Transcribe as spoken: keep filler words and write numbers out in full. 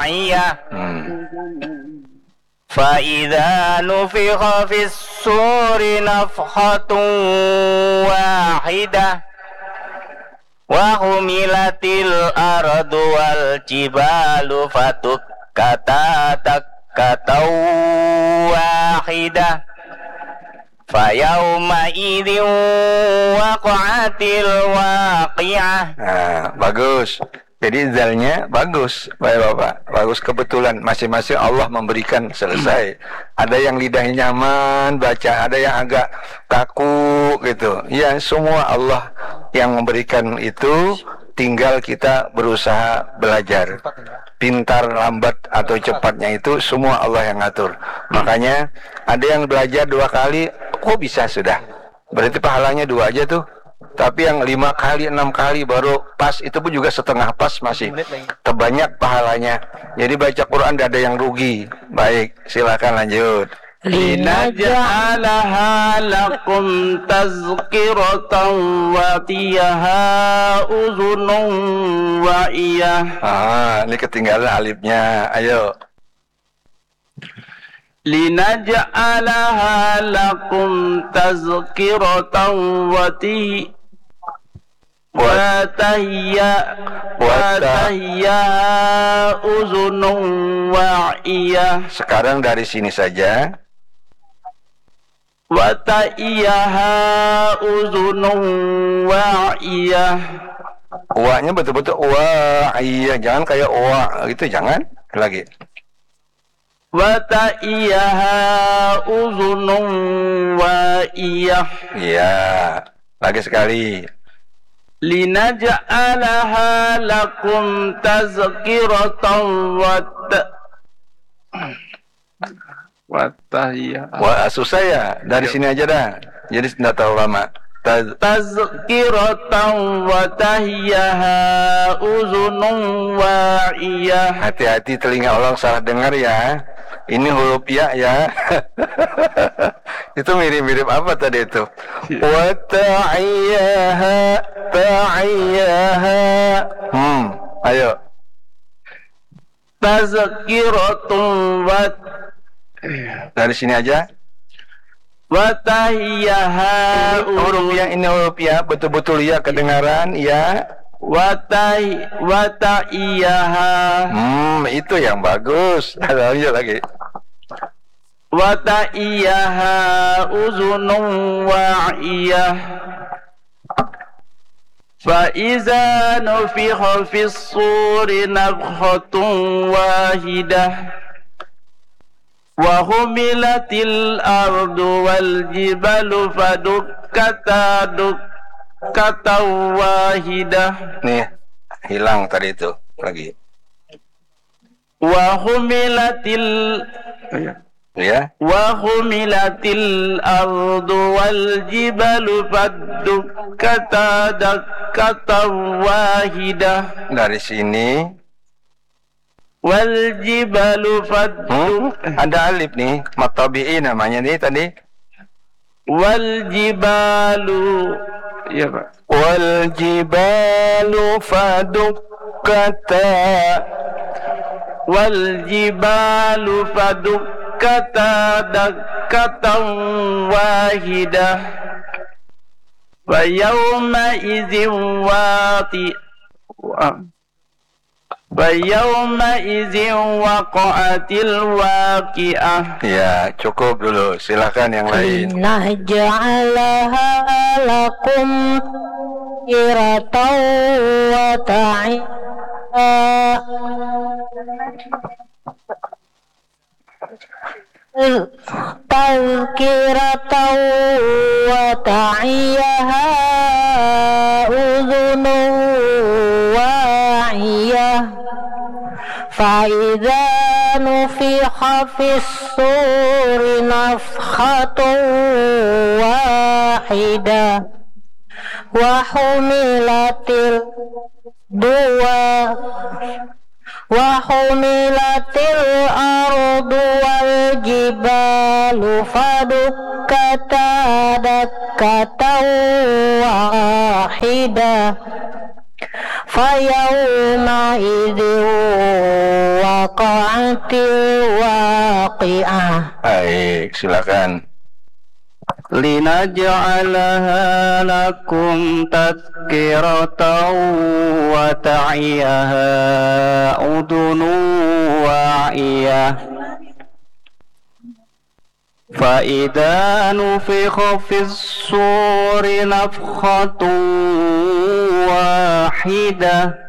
iya. Hmm. Fa idza nufikha fis suri nafkhatun wahidah wa humilatil ardu wal jibalu fadukkata dakkatan wahidah. Fa yauma idzin waqa'atil waqi'ah. Nah, bagus. Jadi zalnya bagus, Bapak-bapak. Bagus, kebetulan masing-masing Allah memberikan, selesai. Ada yang lidahnya nyaman baca, ada yang agak kaku gitu. Ya, semua Allah yang memberikan itu, tinggal kita berusaha belajar. Pintar, lambat atau cepatnya itu semua Allah yang ngatur. Makanya ada yang belajar dua kali, kok bisa sudah? Berarti pahalanya dua aja tuh. Tapi yang lima kali, enam kali baru pas, itu pun juga setengah pas masih. Terbanyak pahalanya. Jadi baca Quran tidak ada yang rugi. Baik, silakan lanjut. Linaj'alaha lakum tazkiratan wa ta'iyaha uzunun wa'iyah. Ah, ini ketinggalan alifnya. Ayo. Linaj'alaha lakum tazkiratan wa ti-, wa tahya-, wa ta- wa tahiyaha uzunun wa'iyah. Sekarang dari sini saja. Wa ta'iyaha uzunun wa'iyah. Wa-nya betul-betul wa'iyah, jangan kayak wa gitu, jangan. Lagi. Wa ta'iyaha uzunun wa'iyah. Iya. Lagi sekali. Linaj'alaha lakum tazkiratan wa ta-, wa tahiyah. Wah, susah ya. Dari sini aja dah. Jadi tidak terlalu lama. Taz- Tazkiratan wa tahiyaha uzunun wa'iyah. Hati-hati, telinga orang salah dengar ya. Ini huruf ya, ya. Itu mirip-mirip apa tadi itu? Iya. Wa ta'iyaha, ta'iyaha. Hmm, ayo. Tazkiratun wa, dari sini aja. Wa tahiyaha. Ini huruf ya, ini huruf ya, betul-betul ya kedengaran ya. Wa tahi-, wa tahiyaha. Hmm, itu yang bagus. Lanjut lagi. Wa tahiyaha uzunun wa'iyah. Fa iza nufikha fis suri nafkhatun wahidah. Wa humilatil ardu wal jibalu fadukkata dukkatan wahidah. Nih, hilang tadi itu lagi. Wa humilatil, ya. Wa humilatil ardu wal jibalu fadukkata dakkatan wahidah. Dari sini. Wal jibalu faddu- Hmm, ada alif nih, matabi'i namanya nih tadi. Wal jibalu. Iya, Pak. Wal jibalu fadukkata. Wal jibalu fadukkata dakkatan wahidah. Fa yauma idzin waqi-, wa-, Fa yauma idzin waqa'atil waqi'ah. Ya, cukup dulu. Silakan yang lain. Linaj'alaha lakum tazkiratan wa ta'i-, tazkiratan wa ta'iyaha udhunun wa'iyah. Fa idza nufikha fis suri nafkhatun wahidah. Wa humilatil dua. Wa humilatil ardu wal jibalu fadukkata dakkatan wahidah. Fa yauma idzin waqa- الواقعة. Baik, silakan. لنجعلها لكم تذكرة وتعيها أذن واعية. فإذا نفخ في الصور نفخة واحدة